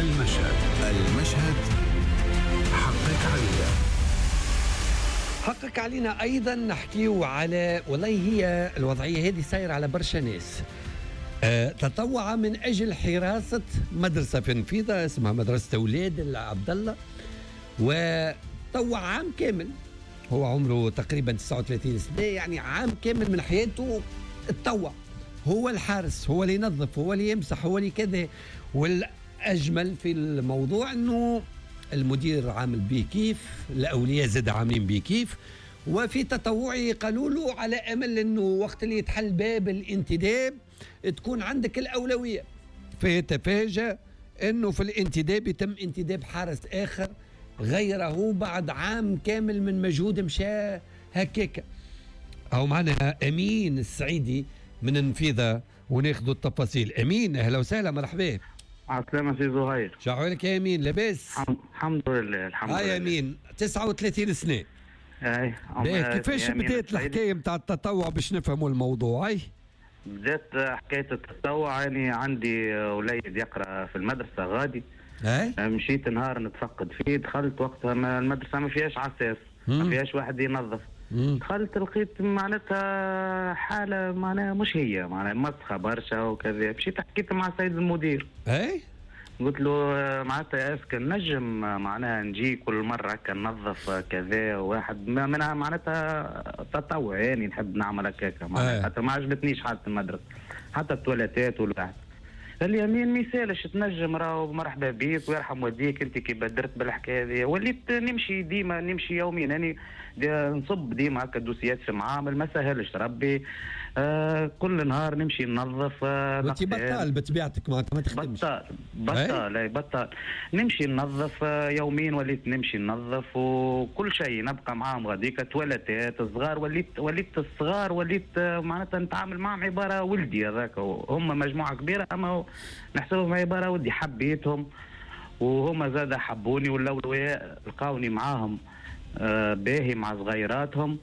المشهد. المشهد حقك علينا. حقك علينا ايضا نحكيو على والله هي الوضعية هذه سايرة على برشا ناس. تطوع من اجل حراسة مدرسه في النفيضه اسمها مدرسه اولاد عبد الله، وطوع عام كامل، هو عمره تقريبا 39 سنة، يعني عام كامل من حياته تطوع، هو الحارس، هو اللي ينظف، هو اللي يمسح، هو اللي كذا. والاجمل في الموضوع انه المدير عامل بيه كيف، الاولياء زاد عاملين بيه كيف، وفي تطوعي قالوا له على امل انه وقت اللي يتحل باب الانتداب تكون عندك الاولوية. فيتفاجأ انه في الانتداب يتم انتداب حارس اخر غيره بعد عام كامل من مجهود مشى هكاك. او معنا امين السعيدي من النفيضه وناخذ التفاصيل. امين اهلا وسهلا، مرحبا. عسلامة سي زهير. شو احوالك يا امين؟ لاباس؟ الحمد لله الحمد لله. يا امين 39 سنة. اي كيفاش بدات الحكاية نتاع التطوع باش نفهموا الموضوع؟ اي بدات حكاية التطوع، يعني عندي وليد يقرا في المدرسة غادي. اي مشيت نهار نتفقد فيه، دخلت وقتها المدرسة ما فيهاش عساس، ما فيهاش واحد ينظف. دخلت لقيت معناتها حاله معناها مش هي معناها مسخه برشا وكذا. مشيت حكيت مع السيد المدير. اي قلت له معناتها est-ce que نجم معناها نجي كل مرة هكا ننظف كذا واحد منها معناتها تطوع، يعني نحب نعمل هكاك معناتها، حتى ما عجبتنيش حاله المدرسة حتى التواليتات والواحد. قال لي امين ما يسالش تنجم، راهو مرحبا بيك ويرحم والديك انت كي بدرت بالحكاية هذه. وليت نمشي ديما، نمشي يوميا، يعني نصب ديما هكا دوسيات في معامل، ما سهلش ربي. كل نهار نمشي ننظف. انت بطال بطبيعتك معناتها ما تخدمش؟ بطال بطال اي بطال. نمشي ننظف يوميا، وليت نمشي ننظف وكل شيء، نبقى معاهم غاديك تواليتات الصغار، وليت الصغار وليت معناتها نتعامل معاهم عبارة ولدي هذاك، هم مجموعة كبيرة اما نحسبهم عبارة ولدي، حبيتهم وهما زاد حبوني، والاولياء لقاوني معاهم باهي مع صغيراتهم.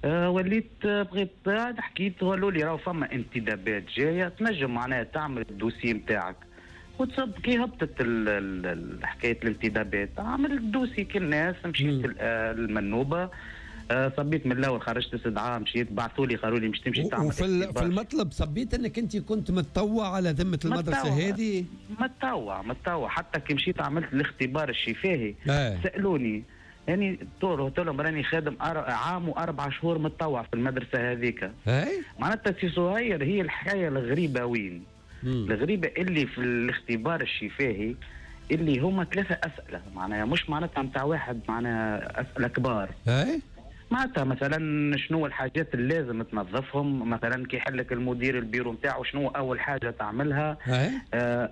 وليت بغيت حكيت، قالوا لي راهو فما انتدابات جاية تنجم معناها تعمل ال dossier نتاعك وتصب. كي هبطت حكاية الانتدابات عملت ال dossier كالناس، مشيت المنوبه، صبيت من الاول، خرجت استدعاء، مشيت بعثوا لي قالوا لي مش تمشي تعمل. وفي المطلب صبيت انك انت كنت متطوع على ذمه المدرسة هذه؟ متطوع حتى كي مشيت عملت الاختبار الشفاهي. سالوني يعني قلت لهم راني خادم عام و4 شهور متطوع في المدرسة هذيك. معناتها سي زهير هي الحكاية الغريبة وين؟ الغريبة اللي في الاختبار الشفاهي اللي هما 3 اسئلة، معناها مش معناتها نتاع واحد، معناها اسئلة كبار. معناتها مثلا شنو الحاجات اللي لازم تنظفهم، مثلا كي يحلك المدير البيرو نتاعو شنو اول حاجة تعملها،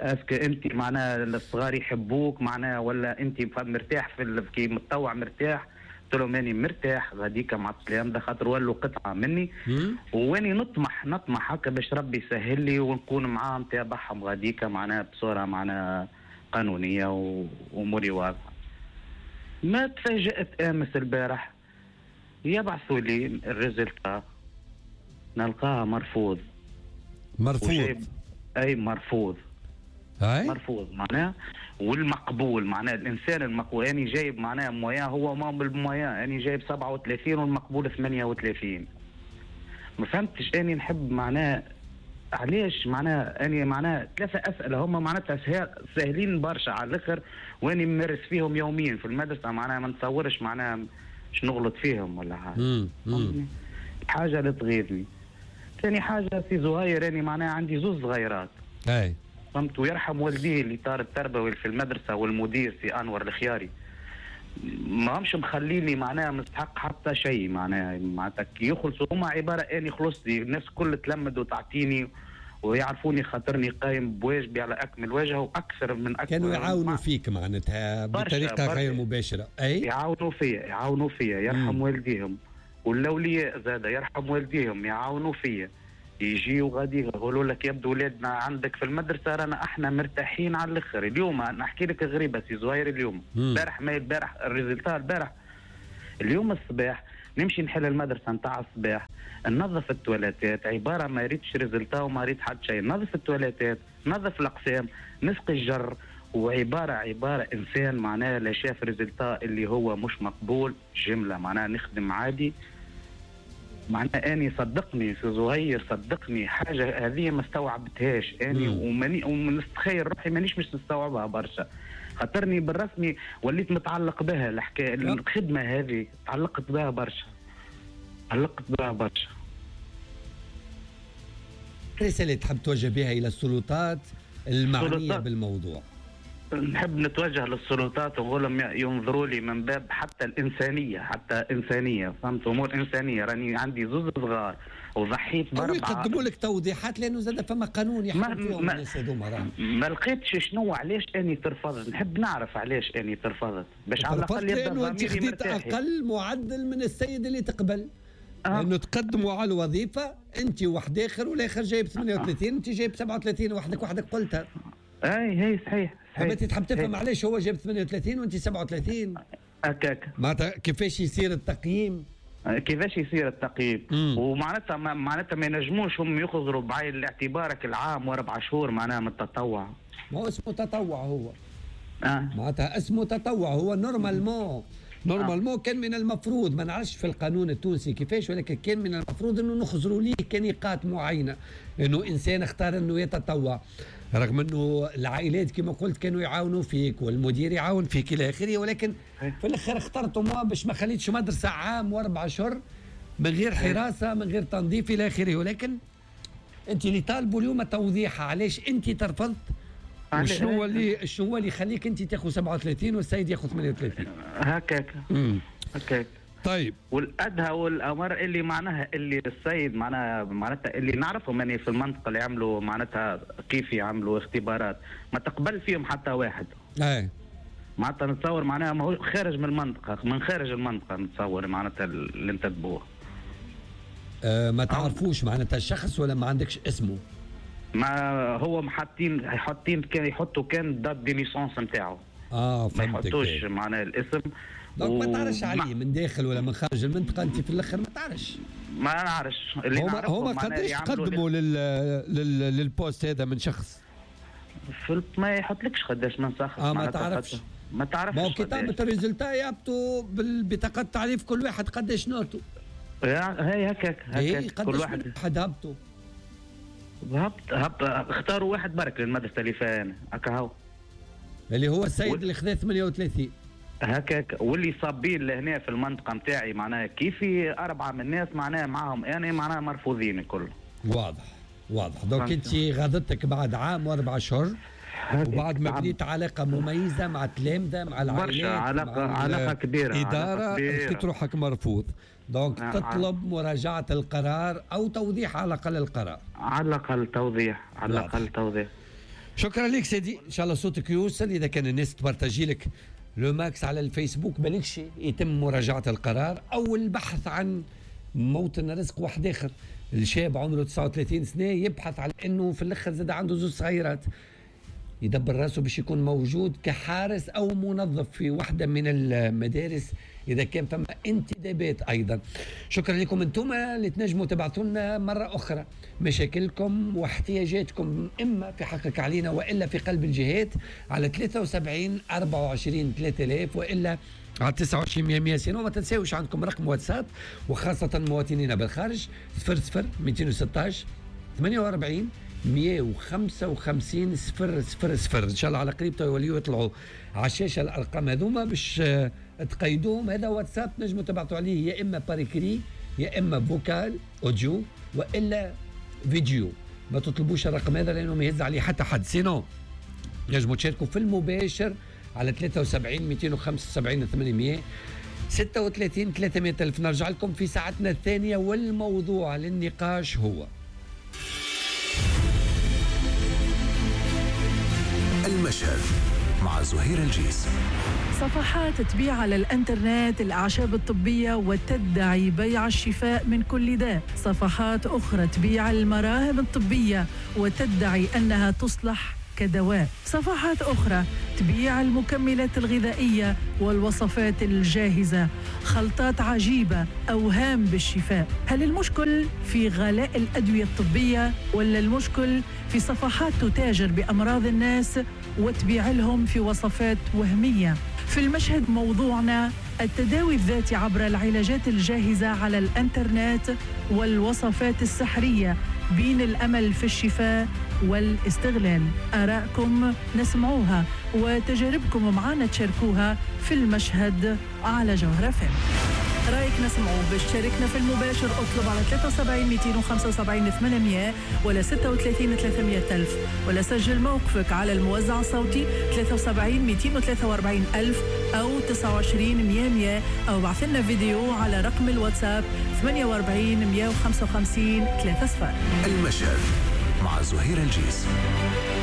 est-ce que انت معناها الصغار يحبوك معناها ولا انت مرتاح في كي متطوع مرتاح؟ قلت لهم اني مرتاح غاديك مع السلام، ده خاطر ولوا قطعه مني، واني نطمح هكا باش ربي يسهل لي ونكون معاهم تابعهم غاديك معناها بصورة معناها قانونية واموري واضحة. ما تفاجأت امس البارح يبعثوا لي ال résultat نلقاها مرفوض. مرفوض؟ اي مرفوض. أي؟ مرفوض معناها. والمقبول معناها الانسان المقبول يعني جايب معناها moyenne، هو ما بال moyenne يعني جايب 37 والمقبول 38. ما فهمتش اني نحب معناها علاش معناها اني معناها 3 اسئلة هما معناتها ساهلين برشا على الاخر، واني ممارس فيهم يوميا في المدرسة، معناها ما نتصورش معناها مش نغلط فيهم ولا حاجة. حاجة اللي تغيظني. ثاني حاجة في زهير اني معناها عندي 2 صغيرات. اي فهمت، ويرحم والديه اللي طار التربوي في المدرسة والمدير سي انور الخياري، ما همش مخليني معناها مستحق حتى شيء، معناتها كي يخلصوا هما عبارة اني خلصت، الناس كل تلمد وتعطيني ويعرفوني خاطرني قايم بواجبي على اكمل وجه واكثر من اكثر. كانوا يعاونوا فيك معناتها بطريقة غير مباشرة. اي يعاونوا فيا يرحم والديهم، والاولياء زاد يرحم والديهم يعاونوا فيا، يجيو غادي يقولوا لك يبدو ولادنا عندك في المدرسة رانا احنا مرتاحين على الاخر. اليوم نحكي لك غريبة سي زهير، اليوم البارح ما البارح ال résultat البارح، اليوم الصباح نمشي نحل المدرسة نتاع الصباح، ننظف التواليتات، عبارة ما ريتش résultat وما ريت حد شيء، نظف التواليتات، نظف الاقسام، نسقي الجر، وعبارة انسان معناها لا شاف résultat اللي هو مش مقبول جملة، معناها نخدم عادي. معناها اني صدقني في زهير، صدقني حاجة هذه ما استوعبتهاش اني، ونستخيل روحي مانيش مش نستوعبها برشا، خاطرني بالرسمي وليت متعلق بها الحكاية، الخدمة هذه تعلقت بها برشا، تعلقت بها برشا. رسالة تحب توجه بها الى السلطات المعنية بالموضوع؟ نحب نتوجه للسلطات ونقول لهم ينظروا لي من باب حتى الانسانية، حتى انسانيه، فهمت؟ امور انسانيه، راني عندي زوز صغار وضحيت باربعة. يقدموا لك توضيحات لانه زاد فما قانون يحكم فيهم الناس هذوما. ما لقيتش شنو علاش اني ترفضت، نحب نعرف علاش اني ترفضت باش على الاقل يبدا انت خديت اقل معدل من السيد اللي تقبل. لانه تقدموا على الوظيفة انت واحد اخر والاخر جايب 38، انت جايب 37 وحدك قلتها. اي هي صحيح. انت تحب تفهم علاش هو جاب 38 وانت 37؟ هكاك. معناتها كيفاش يصير التقييم؟ كيفاش يصير التقييم؟ ومعناتها معناتها ما ينجموش هم يخزروا بعين الاعتبار العام واربع شهور معناها من التطوع. ما هو اسمه تطوع هو. معناتها اسمه تطوع هو normalement كان من المفروض، ما نعرفش في القانون التونسي كيفاش، ولكن كان من المفروض انه نخزروا ليه كنقاط معينة، انه انسان اختار انه يتطوع، رغم انه العائلات كما قلت كانوا يعاونوا فيك والمدير يعاون فيك الى اخره، ولكن في الاخر اخترتم باش ما خليتش مدرسه عام واربع اشهر من غير حراسة من غير تنظيف الى اخره. ولكن انت اللي طالبوا اليوم توضيحها علاش انت ترفضت، وشنو هو اللي شنو هو اللي يخليك انت تاخذ 37 والسيد ياخذ 38؟ هكاك هكاك. طيب والادهى والامر اللي معناها اللي السيد معناتها اللي نعرفهم اني في المنطقة اللي عملوا معناتها كيف يعملوا اختبارات ما تقبل فيهم حتى واحد. اي معناتها نتصور معناها ما هو خارج من المنطقة، من خارج المنطقة نتصور معناتها اللي انتدبوه. ما تعرفوش معناتها الشخص ولا ما عندكش اسمه؟ ما هو حاطين كان يحطوا كان date de naissance نتاعو. فهمتك. ما يحطوش معناها الاسم. donc ما تعرفش عليه من داخل ولا من خارج المنطقة، انت في الاخر ما تعرفش. ما نعرفش اللي هما قداش تقدموا لل poste هذا من شخص؟ ما يحطلكش قداش من شخص. ما تعرفش. ما تعرفش. ما كي تهبط ال résultat يهبطوا بالبطاقه التعريف كل واحد قداش note و. هي هكاك هكاك كل واحد هبطوا. هبط اختاروا واحد برك للمدرسة اللي فيها انا هكا هو اللي هو السيد اللي خذا 38 هكاك، واللي صابين لهنا في المنطقة نتاعي معناها كيفي اربعة من الناس معناها معاهم انا معناها مرفوضين الكل. واضح واضح. donc انت غاضتك بعد عام واربع اشهر وبعد ما بنيت علاقة مميزة مع التلامذه مع العائلات، علاقة كبيرة، ادارة، لقيت روحك مرفوض. donc تطلب مراجعه القرار او توضيح على الاقل القرار. على الاقل توضيح، على الاقل توضيح. شكرا لك سيدي، ان شاء الله صوتك يوصل. اذا كان الناس تبارتاجي لك le max على الفيسبوك بالكش يتم مراجعه القرار او البحث عن موطن رزق واحد اخر. الشاب عمره 39 سنة يبحث على انه في الاخر زاد عنده زوج صغيرات، يدبر راسه باش يكون موجود كحارس او منظف في واحدة من المدارس اذا كان فما انتدابات ايضا. شكرا لكم انتم اللي تنجموا تبعثوا لنا مرة اخرى مشاكلكم واحتياجاتكم اما في حقك علينا والا في قلب الجهات على 73 24 3000 والا على 29 100 100. وما تنساوش عندكم رقم واتساب وخاصة مواطنينا بالخارج 00 216 48 155 0 0 0. ان شاء الله على قريب يوليو يطلعوا على الشاشة الارقام هذوما باش تقيدوهم. هذا واتساب نجموا تبعثوا عليه يا اما par écrit يا اما vocal audio والا فيديو. ما تطلبوش الرقم هذا لانه ما يهز عليه حتى حد. sinon نجموا تشاركوا في المباشر على 73 275 800 36 300 ألف. نرجع لكم في ساعتنا الثانية والموضوع للنقاش هو المشهد مع زهير الجيس. صفحات تبيع على الانترنت الأعشاب الطبية وتدعي بيع الشفاء من كل داء. صفحات أخرى تبيع المراهم الطبية وتدعي أنها تصلح كدواء. صفحات أخرى تبيع المكملات الغذائية والوصفات الجاهزة، خلطات عجيبة، أوهام بالشفاء. هل المشكل في غلاء الأدوية الطبية ولا المشكل في صفحات تتاجر بأمراض الناس وتبيع لهم في وصفات وهمية. في المشهد موضوعنا التداوي الذاتي عبر العلاجات الجاهزة على الانترنت والوصفات السحرية، بين الأمل في الشفاء والاستغلال. آراءكم نسمعوها وتجاربكم معنا تشاركوها في المشهد على جوهرة FM. رايك نسمعوه باش تشاركنا في المباشر، اطلب على 73 275 800 ولا 36 300 ألف، ولا سجل موقفك على الموزع الصوتي 73 243 ألف أو 29 100 100، أو بعث لنا فيديو على رقم الواتساب 48 155 30. المشهد مع زهير الجيس.